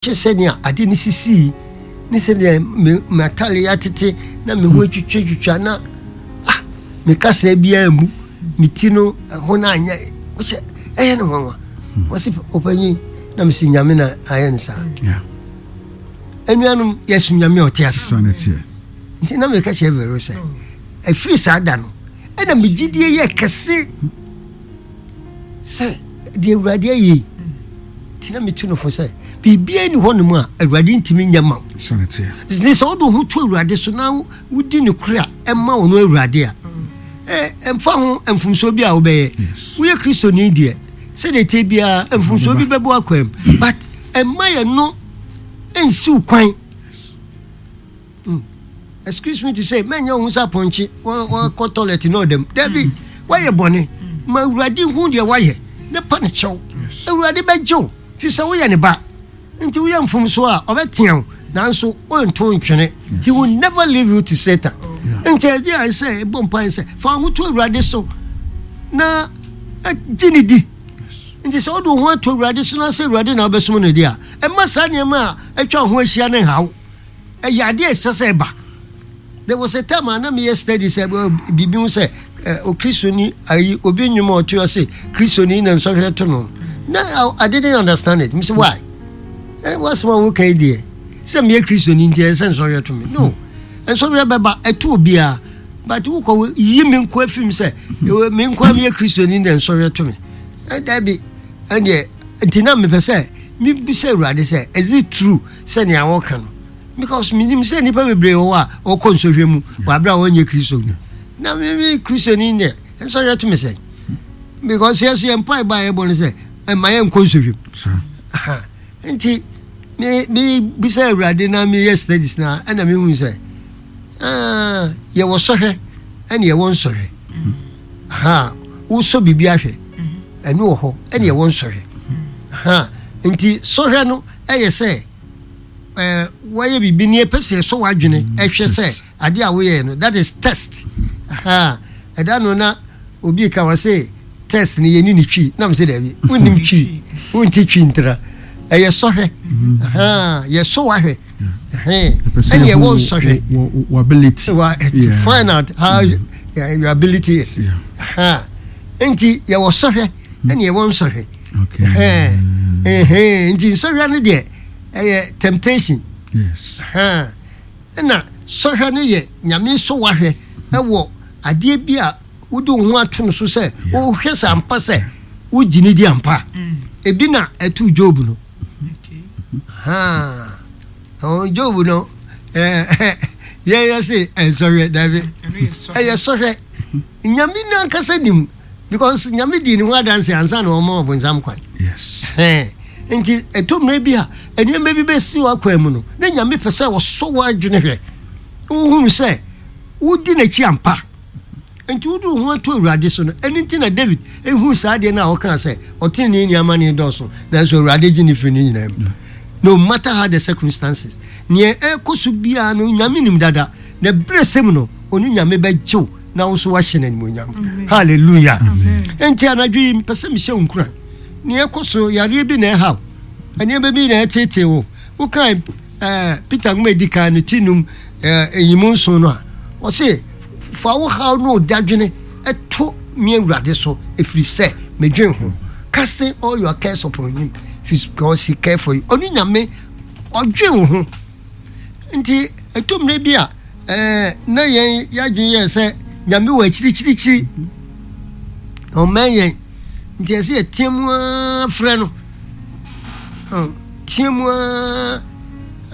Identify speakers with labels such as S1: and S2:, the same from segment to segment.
S1: Hwɛ sɛnea ade no sisii ne sɛnea me m'atade atete na me ho atwitwatwitwa na ah me kasa biara mu me ti no ɛho no anyɛ wɔsɛ ɛyɛ no nwanwa wɔsi ɔpanyin na mesi nyame na ayɛ no saa anuanom yɛso nyame a ɔte ase nti na meka kyerɛ Vero sɛ ɛfiri saa da no ɛna me gyidie yɛ kɛse sɛ deɛ Awurade ayɛ yi nti na metu no fo sɛ biribiara ni hɔ nom a Awurade ntumi nyɛ ma wo ne sɛ wode wo ho to Awurade so na wodi ne koro a ɛma wo no Awurade a ɛmfa ho mfomsoɔ bi a wobɛyɛ woyɛ Kristoni deɛ sɛdeɛ ɛteɛ biara mfomsoɔ bi bɛbɔ akwan mu but ɛmma yɛ no nsiw kwan. Hmm. Excuse me to say, mɛnyɛ wo ho sɛ apɔnkye wakɔ toilet na ɔdam. Dabi, hmm. woayɛ bɔne. Hmm. Ma Awurade hu deɛ woayɛ ne pa ne kyɛw. Awurade bɛgye wo fi sɛ woyɛ ne ba. Nti woyɛ mfomso a ɔbɛtea wo nanso ɔnto ntwene. He will never leave you to Satan. Nti ɛgye a sɛ ɛbɔ mpae sɛ fa wo ho to Awurade so na gye ne di. Nti sɛ wode wo ho ato Awurade so na sɛ Awurade na wobɛsom no deɛ a, ɛma saa nneɛma a atwa wo ho ahyia no nhaw. Ɛyɛ adeɛ a ɛsɛ sɛ ɛba. There was a time a na meyɛ study sɛ biribi ho sɛ Okristoni ayi obi nnwom a ɔte ɔse Kristoni na nsɔhwɛ to no. Na I didn't understand it. Mese why? Eh, wasɛm a woka yi deɛ sɛ meyɛ Kristoni nti ɛsɛ sɛ nsɔhwɛ to me. No. Nsɔhwɛ bɛba ɛto obiara. But wokɔ yi me nko afim sɛ me nko a meyɛ Kristoni na nsɔhwɛ to me. Dabi ɛndeɛ nti na mepɛ sɛ mebisa Awurade sɛ is it true sɛ nea wɔka no because menim sɛ nnipa bebree wɔ hɔ a wɔkɔ nsɔhwɛ mu wɔ abere a wɔnyɛ kristoni na meme kristoni deɛ nsɔhwɛ to me sɛ because yɛ so yɛn mpaebɔ a yɛbɔ no sɛ ɛma yɛnkɔ nsɔhwɛ mu nti mebisa awurade na meyɛ studies na ɛna mehu sɛ ah, yɛwɔ sɔhwɛ ɛne yɛwɔ nsɔhwɛ ha wosɔ biribi ahwɛ ɛno wɔ hɔ ɛne ɛwɔ nsɔhwɛ ha nti sɔhwɛ no ɛyɛ sɛ ɛɛ wɔyɛ biribi ne ɛpɛ sɛ ɛsɔ w'adwene mm, ɛhwɛ sɛ adeɛ a woyɛ no that is test ha ɛda no na obi ka wɔ sɛ test no yɛni ne twi nam sɛ daabi wonnim twi wonte twi ntra ɛyɛ sɔhwɛ mm. ha yɛsɔ w'ahwɛ ɛne ɛwɔ nsɔhwɛ
S2: ability
S1: to find out how mm. your ability is ha nti yɛwɔ sɔhwɛ ɛne ɛwɔ nsɔhwɛ nti nsɔhwɛ no deɛ ɛyɛ temptation ɛna sɔhwɛ no yɛ nyame sɔ wahwɛ ɛwɔ adeɛ bi a wode wo ho ato no so sɛ wohwɛ sɛ ampa sɛ wogye ne di ampa mm. ebi na ɛto job no job no yɛyɛ se ɛnsɔhwɛ dabi ɛyɛ sɔhwɛ nyame no ankasa nim because nyame dii ne ho adanse ansa na ɔma ɔbonsam kwan nti ɛtɔ mmerɛ bi a nneɛma bi bɛsi w'akwan mu no na nyame pɛ sɛ ɔsɔ w'adwene hwɛ wohunu sɛ wodi n'akyi ampa nti wode wo ho ato awurade so no ɛno nti na david ɛhu saa adeɛ no a ɔkaa sɛ ɔtenenee ni amane dɔɔso nanso awurade gye ne firi ne nyinaa mu no matter how the circumstances neɛ ɛkɔ so biara no nyame nim dada na berɛ sɛm no ɔno nyame bɛgyew na wo nso woahyɛ no animuonyam hallelujah nti anadwo yi mpɛ sɛ mehyɛ wo nkuran nea ɛkɔ so yareɛ bi na ɛhaw nneɛma bi na ɛtetee wo wokae eh, peter nwoma ɛdi kan no ti num eh, ɛnyimu nson no a ɔse fa wo haw ne ɔdadwene ɛto me awurade so ɛfiri sɛ medwen ho casting all your cares upon him because he care for you ɔno nyame ɔdwen wo ho Nti ɛtɔ mmerɛ bi a ɛɛ na yɛn yɛadwene yɛ sɛ nyame wɔ akyirikyirikyiri ɔmmɛn yɛn nti ɛsɛ yɛteɛ mu ara frɛ no teɛ mu ara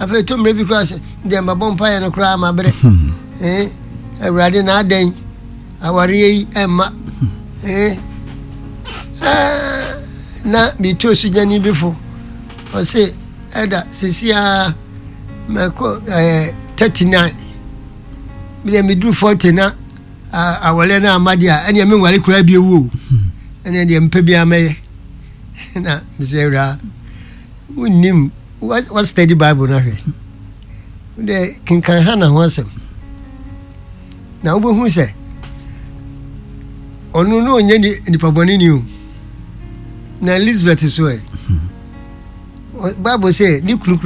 S1: afei ɛtɔ mmerɛ bi koraa sɛ deɛ mabɔ mpaeɛ no koraa mabrɛ hmm. eh, awurade na adɛn awareɛ yi ɛmma eh, eh, na metu osugyani bi fo ɔse Ɛda sisi ara mɛkɔ ɛɛ 39 medeɛ meduru 40 na awɔlɛ no amma deɛ a ɛneɛ menware koraa bio o ɛneɛ deɛ mpɛ biara mɛyɛ na mesɛ awuraa wonnim wa study bible no ahwɛ wodɛ kenkan hana ho asɛm na wobɛhu sɛ ɔno no ɔnyɛ nipa bɔne ni o na elizabeth so ɛ. Bible sɛ ne kunu.